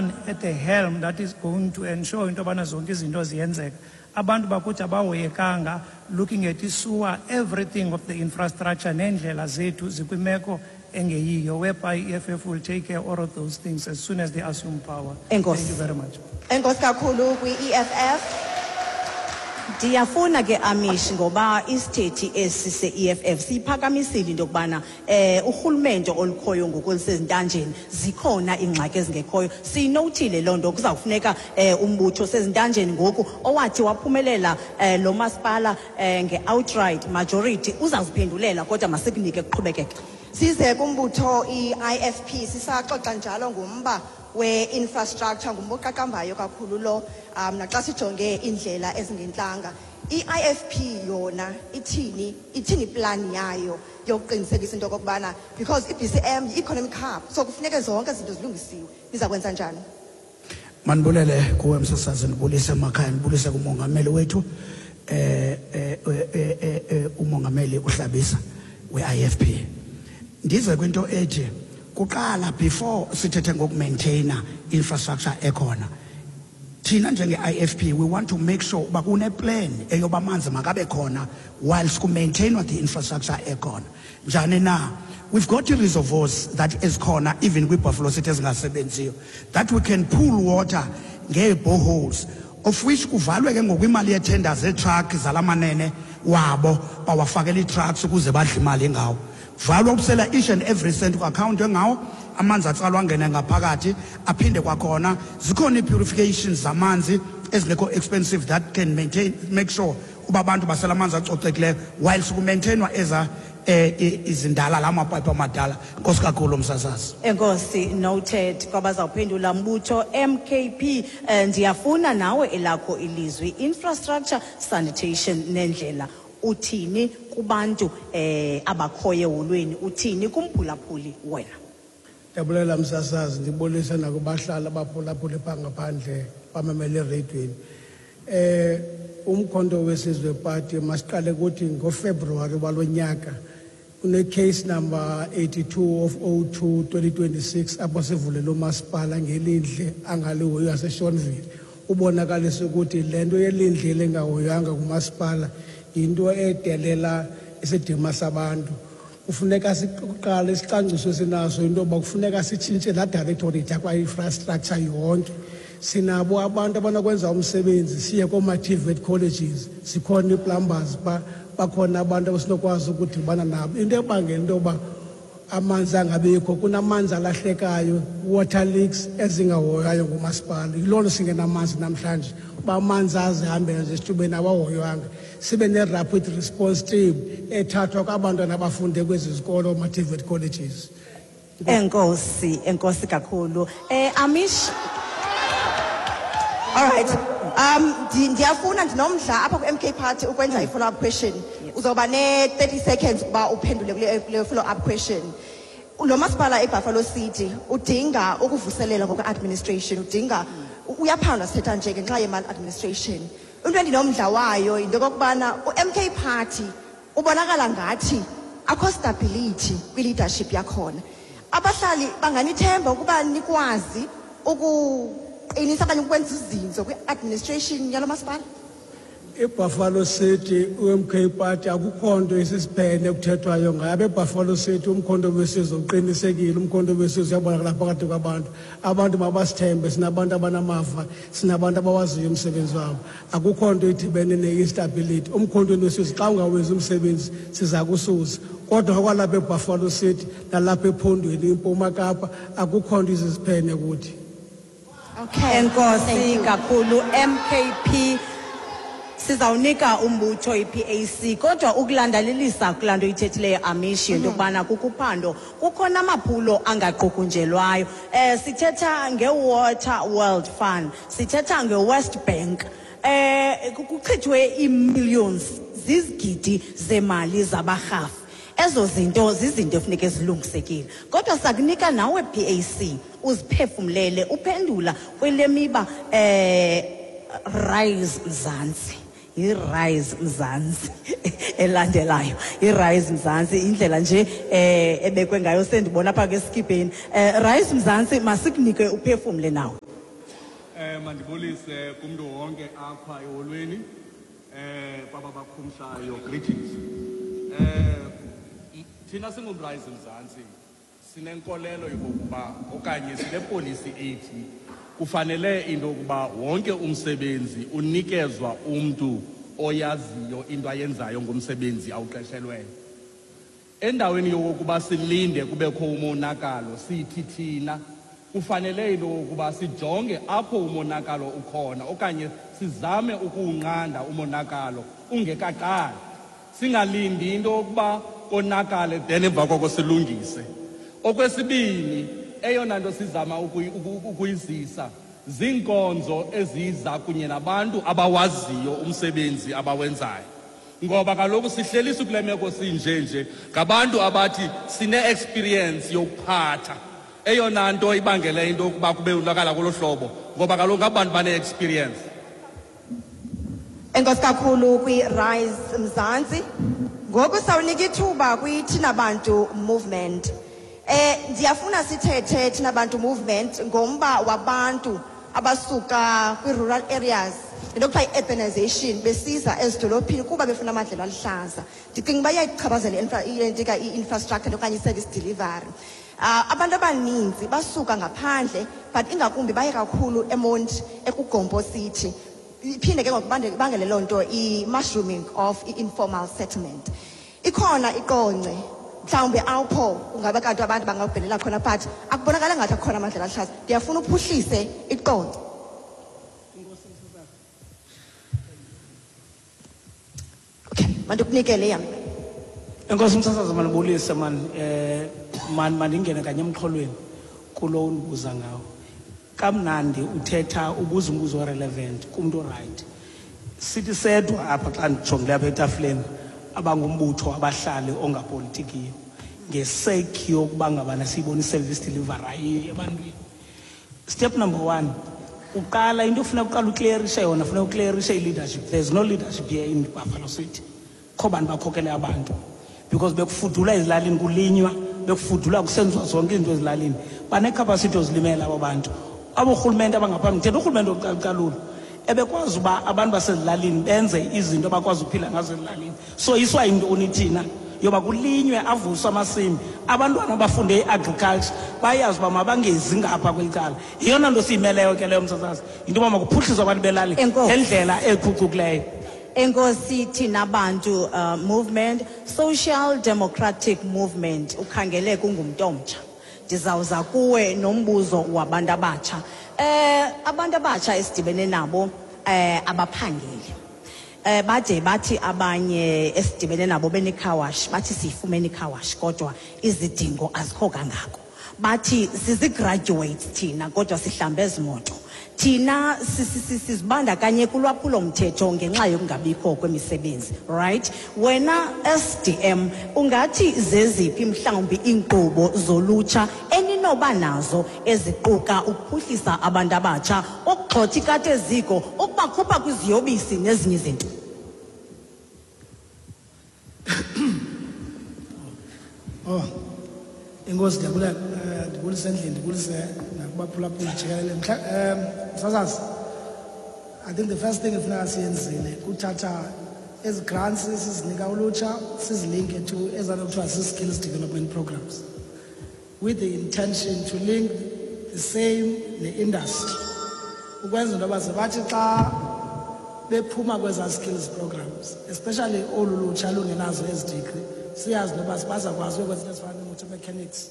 man at the helm that is going to ensure into yobana zonke izinto ziyenzeka. Abantu bakuthi abahoyekanga, looking at i-sewer, everything of the infrastructure neendlela zethu zikwimeko engeyiyo, whereby i-EFF will take care of all of those things as soon as they assume power. Enkosi. Thank you very much. Enkosi kakhulu kwi-EFF. Ndiyafuna ke, Amish, ngoba isithethi esi se-EFF siyiphakamisile into yokubana urhulumente olukhoyo ngoku olusezintanjeni, zikhona iingxaki ezingekhoyo. Siyinowuthile loo nto. Kuzawufuneka umbutho sezintanjeni ngoku owathi waphumelela lo masipala nge-outright majority uzawuziphendulela, kodwa masikunike kuqhubekeke. Size kumbutho i-IFP. Sisaxoxa njalo ngumba we-infrastructure, ngumba oqaqambayo kakhulu lo, naxa sijonge iindlela ezingentlanga. I-IFP yona ithini? Ithini iplani yayo yokuqinisekisa into okokubana, because i-BCM yi-economic hub, so kufuneke zonke izinto zilungisiwe? Niza kwenza njani? Mandibulele kuwe, msasazi, ndibulise emakhaya, ndibulise kumongameli wethu, umongameli uHlabisa we-IFP. Ndize kwinto ethi kuqala, before sithethe ngokumaintaina infrastructure ekhona, thina njenge-IFP we want to make sure uba kuneplan eyoba amanzi makabe khona whilst kumaintainwa the infrastructure ekhona. Njani na? We've got i-reservoirs that ezikhona even kwi-Buffalo City ezingasebenziyo that we can pull water ngee-boreholes, of which kuvalwe ke ngoku imali yetender zeetruck zalamanene wabo bawafakela ii-trucks ukuze badle imali ngawo. Valwa ubusela each and every cent ku-akhawunti engawo, amanzi atsalwa angene ngaphakathi. Aphinde kwakhona zikhona ii-purifications zamanzi ezingekho expensive that can maintain, make sure uba abantu basela amanzi acocekileyo whilst kumaintainwa eza izindala, la mapayipi amadala. Nkosi kakhulu, msasazi. Enkosi, noted. Kwabazawuphendula, mbutho MKP, ndiyafuna nawe elakho ilizwi. Infrastructure, sanitation nendlela, uthini kubantu abakhoyo eholweni? Uthini kumphulaphuli wena? Ndiyabulela, msasazi, ndibulise nakubahlali abaphulaphuli phaa ngaphandle bamamele ereyidweni. Umkhonto Wesizwe Party, masiqale kuthi ngoFebruwari walo nyaka kune-case number 82 of 02 2026 apho sivulele umasipala ngelindle angalihoyi yaseShonville. Ubonakalisa ukuthi le nto yelindle lengahoywanga ngumasipala yinto edelela isidima sabantu. Kufuneka siqale isicwangciso esinaso, into yoba kufuneka sitshintshe laa directorate yakwa-infrastructure yonke. Sinabo abantu abanokwenza umsebenzi, siye kooma-TVET colleges, zikhona ii-plumbers, bakhona abantu abasinokwazi ukudibana nabo. Into ebangela into yoba amanzi angabikho, kunamanzi alahlekayo, water leaks ezingahoywayo ngumasipala. Yiloo nto singenamanzi namhlanje, uba amanzi azihambela nje esithubeni, awahoywanga. Sibe ne-rapid response team ethathwa kwabantwana abafunde kwezi zikolo, ma-TVET colleges. Enkosi, enkosi kakhulu, Amish. All right. Ndiyafuna, ndinomdla apha ku-MK Party ukwenza i-follow-up question. Uzawuba ne-30 seconds ukuba uphendule kule follow-up question. Lo masipala eBuffalo City udinga ukuvuselelwa ngokwe-administration, udinga, uyaphandwa sithetha nje ngenxa ye-maladministration. Into endinomdla wayo yinto yokokubana u-MK Party ubonakala ngathi akho stability kwi-leadership yakhona. Abahlali banganithemba ukuba nikwazi ukuqinisa okanye ukwenza izinzo kwi-administration yalo masipala? IBuffalo City, uMK Party, akukho nto isisiphene ekuthethwayo ngayo. AbeBuffalo City, Umkhonto Wesizwe uqinisekile, Umkhonto Wesizwe uyabonakala phakathi kwabantu. Abantu mabasithembe, sinabantu abanamava, sinabantu abawaziyo umsebenzi wabo. Akukho nto idibene ne-instability. Umkhontweni Wesizwe, xa ungawenzi umsebenzi, siza kususa. Kodwa kwalapha eBuffalo City nalapha ephondweni iMpuma Kapa, akukho nto isisiphene kuthi. Okay. Enkosi Thank you. kakhulu, MKP. Sizawunika umbutho iPAC, kodwa ukulandalelisa kulaa nto ithethileyo, Amish, into yokubana kukuphando, kukhona amaphulo angaqukunjelwayo. Sithetha nge-Water World Fund, sithetha nge-West Bank, kuchithwe ii-millions, zizigidi zemali zabarhafi. Ezo zinto zizinto efuneke zilungisekile, kodwa sakunika nawe PAC uziphefumlele uphendula kwele miba. Rise Mzansi, yi-Rise Mzansi elandelayo, i-Rise Mzansi, indlela nje ebekwe ngayo, sendibona apha ke esikipeni. Rise Mzansi, masikunike uphefumle nawe. Mandibulise kumntu wonke apha eholweni, kwaba bakhumshayo, greetings. Thina singuRise Mzansi sinenkolelo yokokuba okanye sinepolisi ethi kufanele into yokuba wonke umsebenzi unikezwa umntu oyaziyo into ayenzayo ngomsebenzi awuqeshelweyo. Endaweni yokokuba silinde kubekho umonakalo, sithi thina kufanele into yokokuba sijonge apho umonakalo ukhona okanye sizame ukuwunqanda umonakalo ungekaqali, singalindi into yokuba konakale then emva koko silungise. Okwesibini, eyona nto sizama ukuyizisa ziinkonzo eziza kunye nabantu abawaziyo umsebenzi abawenzayo, ngoba kaloku sihlelisa kule meko sinje nje ngabantu abathi sine-experience yokuphatha. Eyona nto ibangele into yokuba kube unakala kolo hlobo, ngoba kaloku ngabantu bane-experience. Enkosi kakhulu kwi-Rise Mzansi. Ngoku sawunika ithuba kwi-Thina Bantu Movement. Ndiyafuna sithethe, Thina Bantu Movement, ngomba wabantu abasuka kwi-rural areas, into kuthiwa i-urbanization, besiza ezidolophini kuba befuna amadlelo aluhlaza. Ndicinga uba iyayichaphazela i-infrastructure okanye i-service delivery. Abantu abaninzi basuka ngaphandle, but ingakumbi baye kakhulu eMonti, ekuGompo City. Iphinde ke ngoku ibangele loo nto i-mushrooming of i-informal settlement. Ikhona iQonce, mhlawumbi apho kungaba kanti abantu bangabhelela khona, but akubonakala ngathi akhona amadlelo aluhlaza. Ndiyafuna uphuhlise iQonce. Okay, mandikunikele yam. Enkosi msasazi, mandibulise man, man mandingene kanye emxholweni kulo undibuza ngawo. Kamnandi uthetha, ubuza umbuzo relevant kumntu right. Sithi sedwa apha xa ndijongile apha etafileni abangumbutho abahlali ongapolitikiyo, ngesake yokuba ngabana siyibona i-service delivery ayiyo ebantwini. Step number 1, uqala into ofuna uqala uclearishe yona, funeka uclearishe i-leadership. There's no leadership here in Buffalo City. Kho bantu bakhokele abantu, because bekufudula ezilalini kulinywa, bekufudula kusenziwa zonke izinto ezilalini. Banecapacity yozilimela abo bantu. Abo rhulumente abangaphambi, ndithetha urhulumente wokucalucalulo, ebekwazi uba abantu basezilalini benze izinto abakwazi ukuphila ngazo ezilalini. So iswa yintoni thina yoba kulinywe, avuswe amasimi, abantwana abafunde i-agriculture bayazi uba mabangezi ngapha kweli cala. Yeyona nto siyimeleyo ke leyo msasazi, yinto yoba makuphuhliswe abantu belali Enkosi. ngendlela ephucukileyo. Enkosi Thina Bantu Movement, Social Democratic Movement, ukhangele kungumntu omtsha. Ndizawuza kuwe nombuzo wabantu abatsha. Abantu abatsha esidibene nabo abaphangeli. Bade bathi abanye esidibene nabo bene-car wash, bathi siyifumene i-car wash kodwa izidingo azikho kangako. Bathi sizi-graduates thina kodwa sihlambe ezimoto. Thina sizibandakanye kulwaphulomthetho ngenxa yokungabikho kwemisebenzi, right? Wena SDM ungathi zeziphi mhlawumbi iinkqubo zolutsha eninoba nazo eziquka ukuphuhlisa abantu abatsha, ukugxotha ikati eziko, ukubakhupha kwiziyobisi nezinye izinto? Oh, enkosi, ndiyabulela. Ndibulise endlini, ndibulise nakubaphulaphuli jikelele. Msasazi, I think the first thing efuneka siyenzile kuthatha ezi grants sizinika ulutsha, sizilinke to ezaa kuthiwa zii-skills development programs, with the intention to link the same ne-industry, ukwenza into yoba ze bathi xa bephuma kwezaa skills programs, especially olu lutsha lungenazo ezi degree, siyazi noba bazakwazi uyokwenza into ezifana nee-motor mechanics,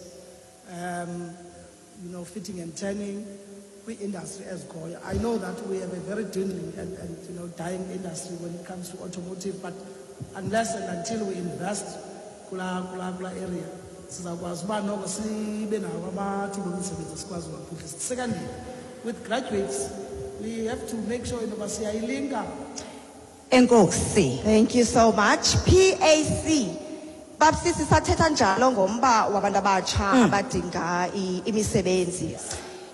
fitting and turning kwi-industry ezikhoyo. I know that we have a very dwindling and dying industry when it comes to automotive, but unless and until we invest kula area, sizakwazi uba noko sibe nawo amathuba emisebenzi sikwazi uwaphuhlisa. Secondly, with graduates, we have to make sure into yoba siyayilinka. Enkosi. Thank you so much. PAC. Babsisi, sathetha njalo ngomba wabantu abatsha abadinga imisebenzi.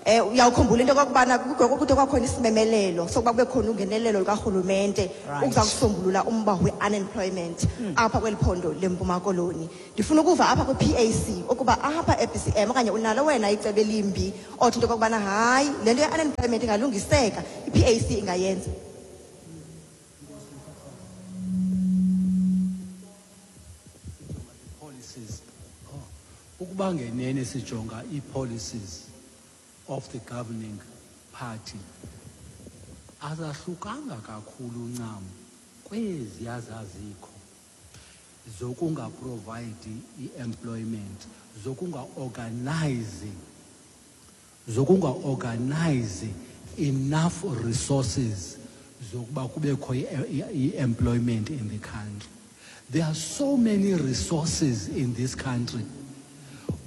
Uyawukhumbula into okokubana kude kwakhona isimemelelo sokuba kube khona ungenelelo lukarhulumente ukuza kusombulula umba we-unemployment apha kweli phondo leMpuma Koloni. Ndifuna ukuva apha kwi-PAC ukuba apha e-BCM okanye unalo wena icebo elimbi othi into okokubana hayi, le nto ye-unemployment ingalungiseka, i-PAC ingayenza. Policies. Oh. Ukuba ngenene sijonga ii-policies of the governing party, azahlukanga kakhulu ncam kweziya zazikho zokungaprovide i-employment, zokunga-organize enough resources zokuba kubekho i-employment in the country. There are so many resources in this country.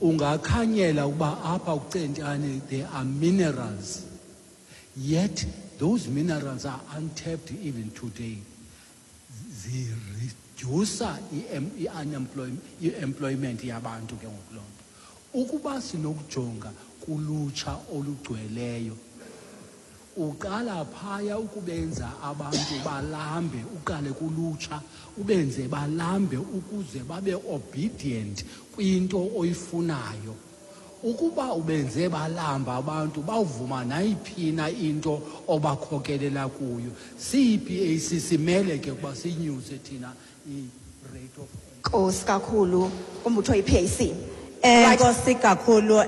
Ungakhanyela ukuba apha kuCentane there are minerals, yet those minerals are untapped even today. Ziredusa i-unemployment, i-employment yabantu ke ngoku loo nto. Ukuba sinokujonga kulutsha olugcweleyo, uqala phaya ukubenza abantu balambe, uqale kulutsha ubenze balambe ukuze babe obedient kwinto oyifunayo. Ukuba ubenze balamba abantu, bawuvuma nayiphina into obakhokelela kuyo. Siyi-PAC simele ke ukuba siyinyuse thina i-rate of Nkosi kakhulu kumbutho i-PAC. Enkosi kakhulu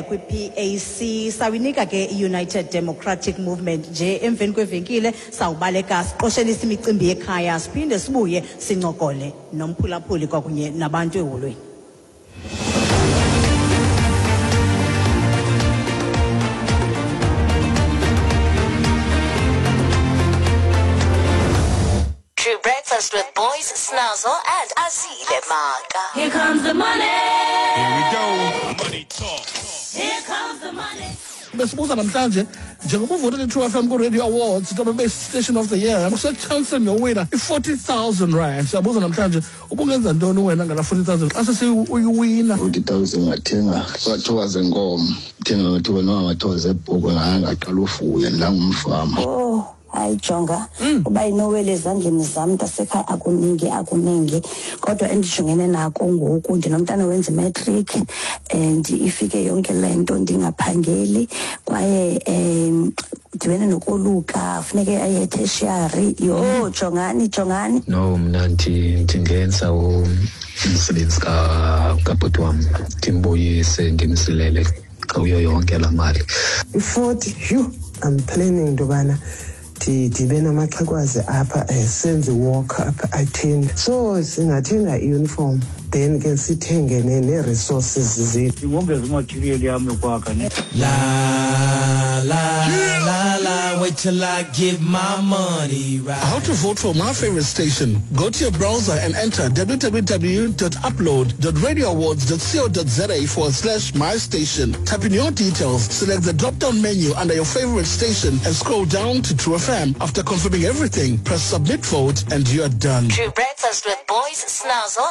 kwi-PAC. Sawinika ke i-United Democratic Movement nje emveni kwevenkile, sawubaleka siqoshelisa imicimbi yekhaya, siphinde sibuye sincokole nomphulaphuli kwakunye nabantu eholweni. True Breakfast with Boys, Snazzle and Azile Maka. Here comes the money. Here we go. Money talk. Here comes the money. Besibuza namhlanje, njengoba uvotele i-True FM ku-Radio Awards into bebe Station of the Year, usechansini yowina i-40,000 rand. Siyabuza namhlanje, ubungenza ntoni wena ngala 40,000 xa sesiuyiwina? 40,000 ngathenga amathuba zenkomo, thenga amathuba noba amathuba zebhokwe, ngaqala ufuya ndangumfama. Oh, hayi jonga, uba inowele ezandleni zam ntasekhaya, akuningi akuningi, kodwa endijongene nako ngoku, ndinomntana wenza imatric and ifike yonke le nto ndingaphangeli, kwaye dibene nokoluka, funeke aye tertiary. Yho, jongani jongani. No, mna ndingenza umsebenzi kabhuti wam, ndimbuyise ndimsilele kuyo yonke laa mali. I-40, yhu, I'm planning into yobana ndibe namaxhekwazi apha, senze walk apha atheni, so singathenga i-uniform, then ke sithenge nee-resources zethu. Ndingongeza imaterial yam yokwakha ne. La la la la, wait till I get my money right. How to vote for my favorite station? Go to your browser and enter www.upload.radioawards.co.za/my station. Type in your details, select the drop-down menu under your favorite station and scroll down to True FM. After confirming everything, press submit vote and you are done. True Breakfast with Boys, Snazzle